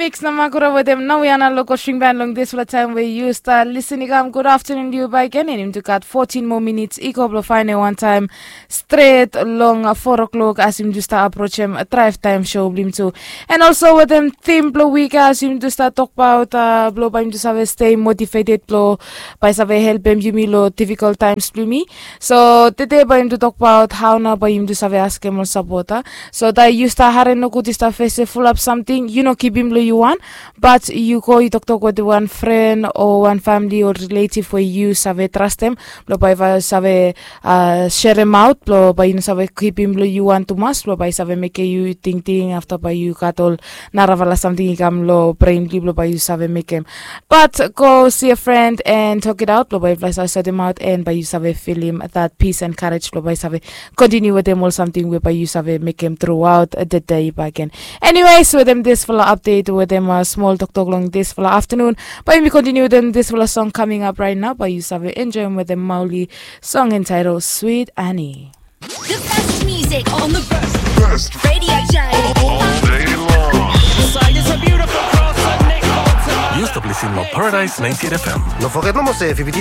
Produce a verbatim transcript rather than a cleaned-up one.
Miks na Makura wetem Nawiana Loko String Band long dispela taim we yu start lisin i kam. Good afternoon to you back again. And yumi tu gat fourteen more minutes i go blo faine wantaim stret long four o'clock as yumi tu start approach em drive time show blo yumi tu. And also wetem theme blo week as yumi tu start talk about uh, blo bai yumi tu save stay motivated blo bai save helpem yumi lo difficult times blo yumi. So today bai yumi tu talk about how na bai yumi tu save askem ol support. So that you start hare no good you start face fulap something you no keep him lo you one. But you go you talk talk with one friend or one family or relative where you save trust them. Lo bai va save uh, share them out lo bai you save keep him lo you one too much lo bai save make you think think after by you got all naravala something you come lo brain bli lo bai you save make him. But go see a friend and talk it out lo bai fly save sort him out and by you save feel him that peace and courage lo bai save continue with them all something whereby you save make him throughout the day back again. Anyways, with them this full update with them a small talk talk long this full afternoon. But we continue with them this full song coming up right now. But you save enjoy with them Mauli song entitled Sweet Annie. The best music on the best radio show all day long. Side is a beautiful cross and Nick Bolton. Yu stap listening to Paradise ninety-eight F M. No forget no more say if you be